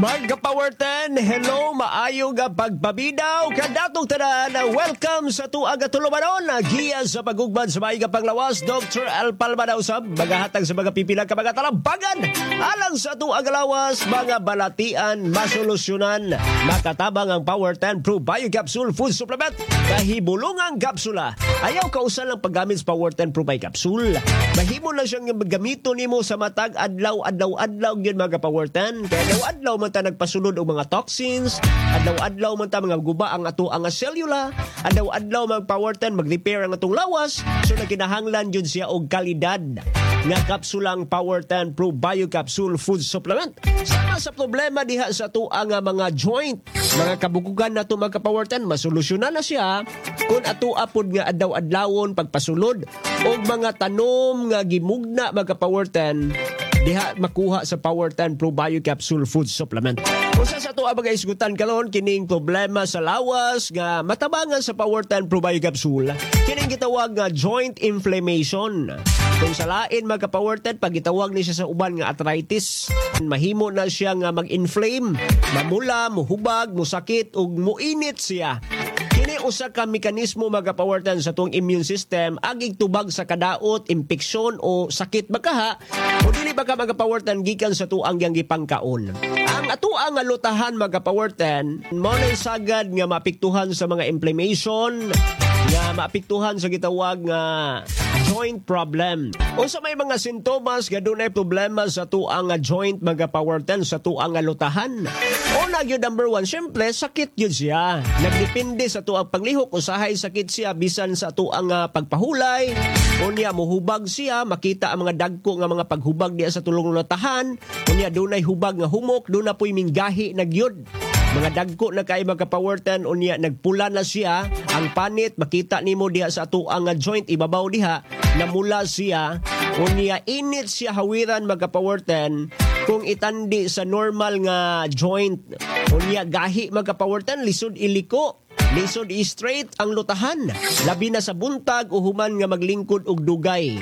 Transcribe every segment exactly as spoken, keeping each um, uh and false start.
Mga Power ten, hello, maayo nga pagpabidaw kanatong tanan. Welcome sa tuag at tulumanon, giya sa pagugmad sa maayo nga panglawas, Doctor Al Palma na usab, magahatag sa mga pipila ka mga talambagan. Alang sa tuag lawas, mga balatian, masolusyonan, makatabang ang Power ten Pro Bio Capsule Food Supplement, kahibulungang kapsula. Ayaw kausan lang paggamit sa Power ten Pro Bio Capsule. Mahimo na siyang gamito nimo sa matag adlaw, adlaw, adlaw, yun mga Power ten. Kaya adlaw, adlaw man ta nagpasulod og mga toxins, adlaw-adlaw man ta mga guba ang ato ang selula, adlaw-adlaw mag Power ten mag-repair ang atong lawas, so nagkinahanglan jud siya og kalidad nga kapsulang Power ten Pro Bio Capsule Food Supplement. Sama sa problema diha sa ato ang mga joint, mga kabukugan nato mga Power ten, masolusyonan na siya kung ato apod nga adlaw-adlawon pagpasulod og mga tanom nga gimugna mga Power ten diha makuha sa Power ten Pro Bio Capsule Food Supplement. Usa sa ato ang mga isgutan karon kining problema sa lawas nga matabangan sa Power ten Pro Bio Capsule, kining gitawag nga joint inflammation. Kung sa lain mga Power ten, pag gitawag ni siya sa uban nga arthritis, mahimo na siya nga mag-inflame, mamula, muhubag, musakit ug muinit siya. Kini usa ka mekanismo mga Power ten sa tuong immune system agig tubag sa kadaot, impeksyon o sakit bakaha o dili ba ka mga Power ten gikan sa tuang yang gipangkaon. Ang ato nga lutahan mga Power ten mao nay sagad nga maapektuhan sa mga inflammation, nga maapektuhan sa gitawag nga joint problem. Unsa may mga sintomas nga dunay problema sa tuang nga joint mga Power ten sa tuang nga lutahan? Una gyud, number one, syempre sakit gyud siya. Nagdepende sa tuang paglihok, usahay sakit siya bisan sa tuang nga pagpahulay. Unya muhubag siya, makita ang mga dagko nga mga paghubag diya sa tulong lutahan. Unya dunay hubag nga humok, duna po'y minggahi na gyud. Mga dagko na kay mga Power ten, unya nagpula na siya ang panit, makita nimo diha sa atuang nga joint ibabaw diha namula siya. Unya init siya hawiran mga Power ten kung itandi sa normal nga joint. Unya gahi mga Power ten, lisod iliko, lisod i-straight ang lutahan, labi na sa buntag o human nga maglingkod og dugay.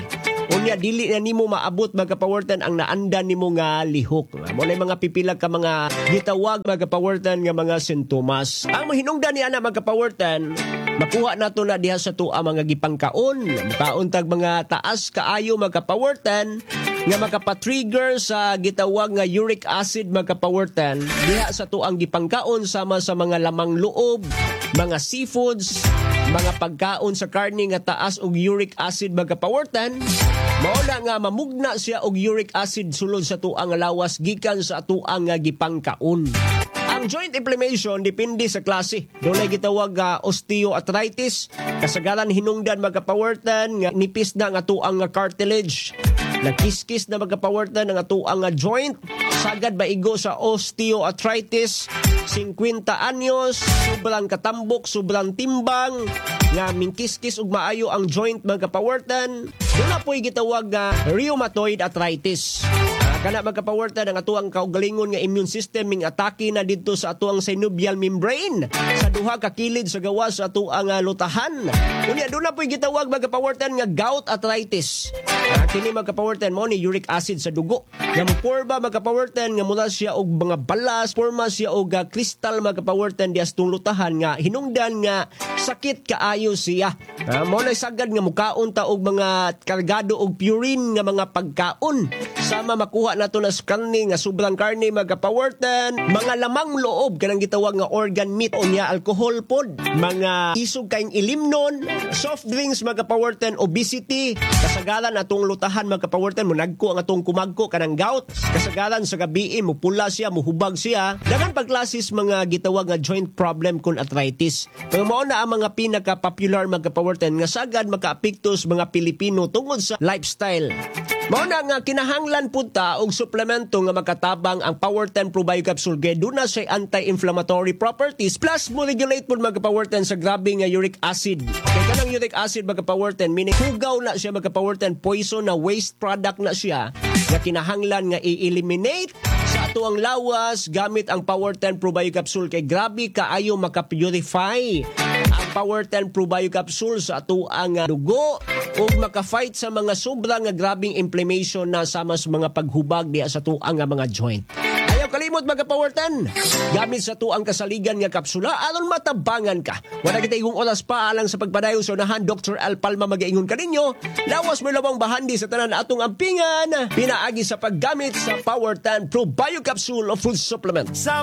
Unya dili na nimo maabot mga Power ten ang naandan nimo nga lihok. Mo na mga pipila ka mga gitawag mga Power ten nga mga sintomas. Ang mahinungdan ni ana mga Power ten, makuha nato na diha sa tuwa mga gipangkaon. Mukaon tag mga taas kaayo mga Power ten nga makapa-trigger sa gitawag nga uric acid mga Power ten diha sa tuang gipangkaon, sama sa mga lamang loob, mga seafoods, mga pagkaon sa karne nga taas og uric acid mga Power ten. Mao na nga mamugna siya og uric acid sulod sa tuang lawas gikan sa tuang nga gipangkaon. Ang joint inflammation depende sa klase. Dunay gitawag nga osteoarthritis, kasagaran hinungdan mga Power ten nga nipis na nga tuang nga cartilage. Nagkiskis na mga Power ten ang atuang nga joint. Sagad maigo sa osteoarthritis, singkwenta anyos, sobrang katambok, sobrang timbang, nga mingkiskis og maayo ang joint mga Power ten. Duna po'y gitawag nga rheumatoid arthritis. Ah, kana mga Power ten, ang atuang kaugalingon nga immune system ming atake na didto sa atuang synovial membrane sa duha ka kilid sa gawas sa atuang ah, lutahan. Unya duna po'y gitawag mga Power ten nga gout arthritis. Ah, kini mga Power ten mo ni uric acid sa dugo. Nga moporma mga Power ten nga mula siya og mga balas, porma siya og ah, kristal mga Power ten diha sa lutahan nga hinungdan nga sakit kaayo siya. Ah, mo na sagad nga mukaon ta og mga kargado og purine nga mga pagkaon. Sama makuha nato na sa karne nga sobrang karne mga Power ten, mga lamang loob kanang gitawag nga organ meat, unya alcohol pod, mga isog kaing ilimnon, soft drinks mga Power ten, obesity, kasagaran atong lutahan mga Power ten mo nagko ang atong kumagko kanang gout. Kasagaran sa gabi mo pula siya, muhubag siya. Daghan pagklasis mga gitawag nga joint problem kun arthritis. Pero mao na ang mga pinaka-popular mga Power ten nga sagad makaapekto sa mga Pilipino tungod sa lifestyle. Mao na nga kinahanglan pud ta og suplemento nga makatabang ang Power ten Pro Bio Capsule kay duna siya anti-inflammatory properties plus mo regulate pud mga Power ten sa grabe nga uric acid. Kay kanang uric acid mga Power ten, meaning hugaw na siya mga Power ten, poison na waste product na siya nga kinahanglan nga i-eliminate sa ato ang lawas gamit ang Power ten Pro Bio Capsule kay grabe kaayo maka-purify ang Power ten Pro Bio Capsule sa ato ang dugo ug maka-fight sa mga sobra nga grabing inflammation na sama sa mga paghubag diha sa tuang nga mga joint. Ayaw Ayaw kalimot mga Power ten. Gamit sa tuang kasaligan nga kapsula aron matabangan ka. Wala kita igong oras pa alang sa pagpadayon sa unahan. Doctor Al Palma magaingon kaninyo. Lawas mo labong bahandi sa tanan atong ampingan. Pinaagi sa paggamit sa Power ten Pro Bio Capsule of Food Supplement. Sa